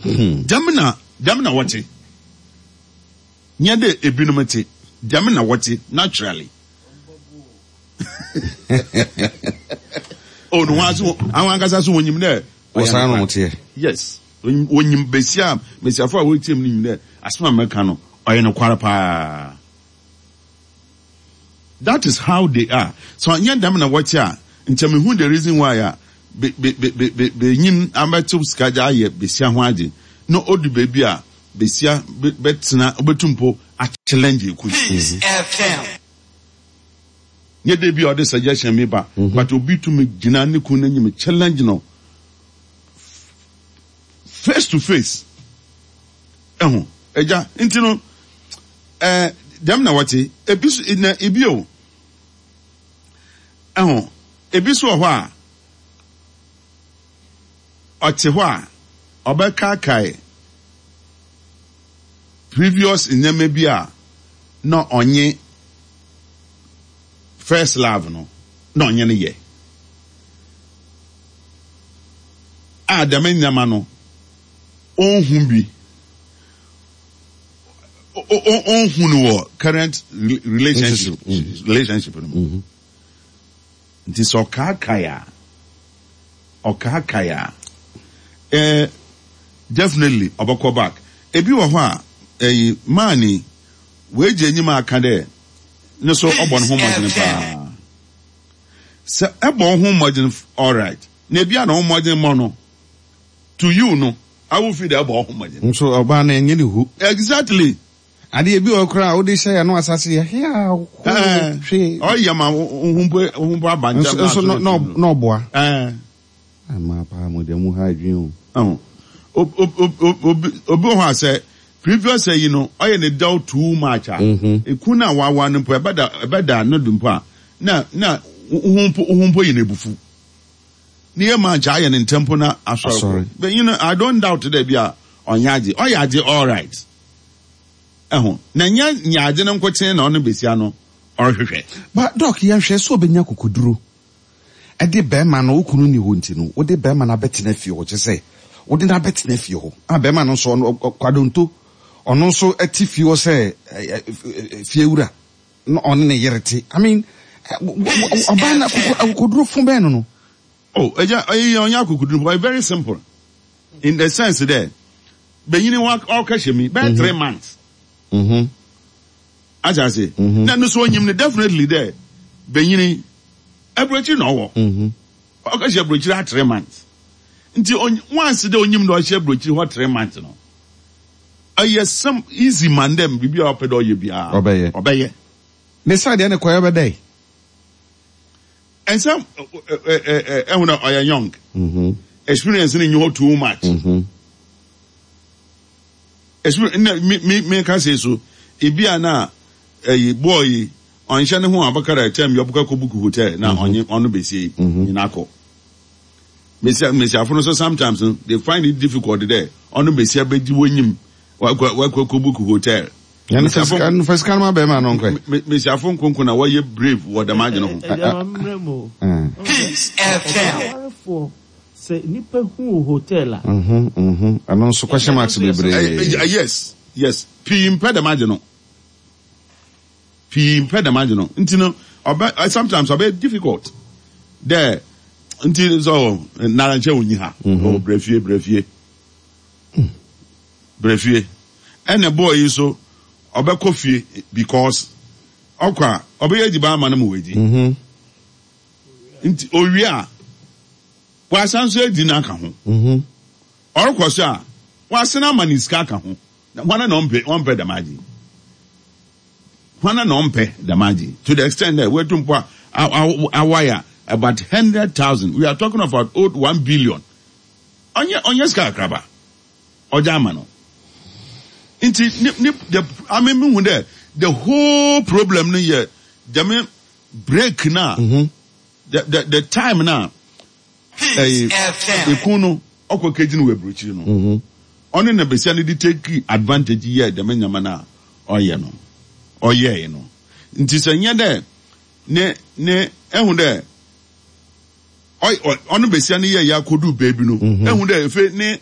Dɛm na dɛm na wɔtse. Nnyɛ dɛ ebinom tse, dɛm na wɔtse naturally. Oh, no hɔn so hɔn ankasa so wonyim dɛ ɔyɛ Wɔsaa na nokwar. wɔteɛ. Yes, wonyim basia a mbasiafo a woritsie mu no nyim dɛ asɛm a mereka no ɔyɛ nokwar paa. That is how they are. Sɛ ɔnnyɛ dɛm na wɔtse a, nkyɛ mehu the reason why a be be be be be benyin abɛtsew sika dze ayɛ basia ho adze na odu beebi a basia be bɛtsena obetum mpo achallenge ekun. Nnyɛ dɛ bi a ɔdze suggestion bi ba but obi tum gyina ne kun n'enyim challenge no face to face. Ehu, egya, ntsi no eh, dɛm na wɔtse. Ebi so, na bio, ehu, ebi so wɔ hɔ a, ɔtse hɔ a, ɔbɛkaakae previous nneɛma bi a na ɔnye first love no, na ɔnye no yɛ. A dɛm nneɛma no, onnhu bi. Onnhu no wɔ current relationship relationship no mu. Mm-hmm. Nti sɛ ɔkaakae a, ɔkaakae a, eh, definitely ɔbɛkɔ back. Ebi wɔ hɔ a, ɛyi, man yi, w'egya enyim aka dɛ ne so ɔbɔ ne ho mmɔdzen paa. Sɛ ɛbɔ wo ho mmɔdzen alright, na ebi a na wo mmɔdzen mmɔ no, to you no, awo fi dɛ ɛbɔ wo ho mmɔdzen. Nso ɔbaa no ɛnyɛ ne hu. Exactly. Adeɛ bi wɔ hɔ koraa a wode hyɛ yɛn ano asase yɛ hea hoo hwee. Ɔyɛ ma wo ho mpo wo ho mpo aba nkyɛn. Nso na na ɔboa. Mmaa paa mo deɛ mo ha adwene o. Obi obi wɔ hɔ a sɛ previous ayi no ɔyɛ ne dɛw too much a ekun no a wawa no mpo ɛbɛda ɛbɛda no do mpo a na na wo ho mpo wo ho mpo yɛ no ebufu. Ne yɛ ma nkyɛ ayɛ ne ntɛm mpo na asɔre kɔ. But you know I don't doubt dɛ bi a ɔnyɛ adze ɔyɛ adze alright. Ehu, na nnyɛ nyia adze no nkotsee na ɔno basia no ɔrohwehwɛ. But doc yɛnhwɛ sɛ ɔbɛnya akokoduro de bɛɛma no wo kunu nni hɔ nti no wode bɛɛma no abɛtena fie hɔ kyesɛ wode no abɛtena fie hɔ a bɛɛma no nso ɔno kwadonto ɔno nso te fie hɔ sɛ fie wura na ɔne ne yere te I mean ɔbaa no akokoduro fo bɛn no no. Oh agya ɔyɛ ɔnyɛ akokoduro ɔyɛ very simple in the sense dɛ Benyin wa ɔkɛhyɛ mi bɛyɛ 3 months. Ate ase? Na no so onyim no definitely dɛ benyin aburokyir na ɔwɔ. Ɔkɛhyɛ aburokyir ha 3 months. Nti once dɛ onyim dɛ ɔhyɛ aburokyir hɔ 3 months no, ɔyɛ sim easy man dɛ biribi a ɔpɛ dɛ ɔyɛ biara ɔbɛyɛ. Ɔbɛyɛ. Ne side deɛ ne kɔyɛ bɛdɛe. Ɛnsɛ ɛhu na ɔyɛ young. Experience no nyi hɔ too much. Experience na me me me ka say so ebi a na ɛyi boy yi ɔnhyɛ ne ho a ɔbɛka dɛ kyɛn bi ɔbɛka kɔ book hotel na ɔnye ɔno besie nyina kɔ. Mesia mesiafo no so sometimes no they find it difficult dɛ ɔno besia bɛgye w'enyim wakɔ wakɔ kɔ book hotel. Nfa sika no ma bɛrima no nkɔ. Mesiafo nkonko na wɔyɛ brave wɔ dɛm adwene ho. Ɛdeɛ ma mmerɛ mu o. Peace FM. Awarefoɔ sɛ nipa hu wo hotel a. Ɛno nso question marks bebree. Yes, pii mpɛ dɛm adwene no. Pii mpɛ dɛm adwene no. Nti no ɔbɛ sometimes ɔbɛ difficult dɛ nti so nara nkyɛn onyi ha. Oh brɛ fie, brɛ fie. Brɛ fie. Ɛna boy yi nso ɔbɛkɔ fie because ɔkɔ a ɔbɛyɛ edziban ama no ma oedzi. Nti owie a wasan so edzi no aka ho. Ɔrokɔ so a wasan ama no sika aka ho. Na hwana na ɔmpɛ ɔmpɛ dɛm adze yi? Hwana na ɔmpɛ dɛm adze yi? To the extent that wetu mpo a awire about 100,000. We are talking about old 1 billion. Ɔnyɛ ɔnyɛ sika kakraba. Ɔgye ama no. Nti ne ne the I mean mehu dɛ the whole problem no yɛ dɛm break na the time na ɛyi ekun no ɔkɔ kegye no wɔ aburokyiri no. Ɔne na besia no de take advantage yɛ dɛm nyama no a ɔyɛ no ɔyɛe no. Nti sɛ nyɛ dɛ ne ne ehu dɛ ɔno besia no yɛ yɛ akɔdu beebi no ehu dɛ efe ne.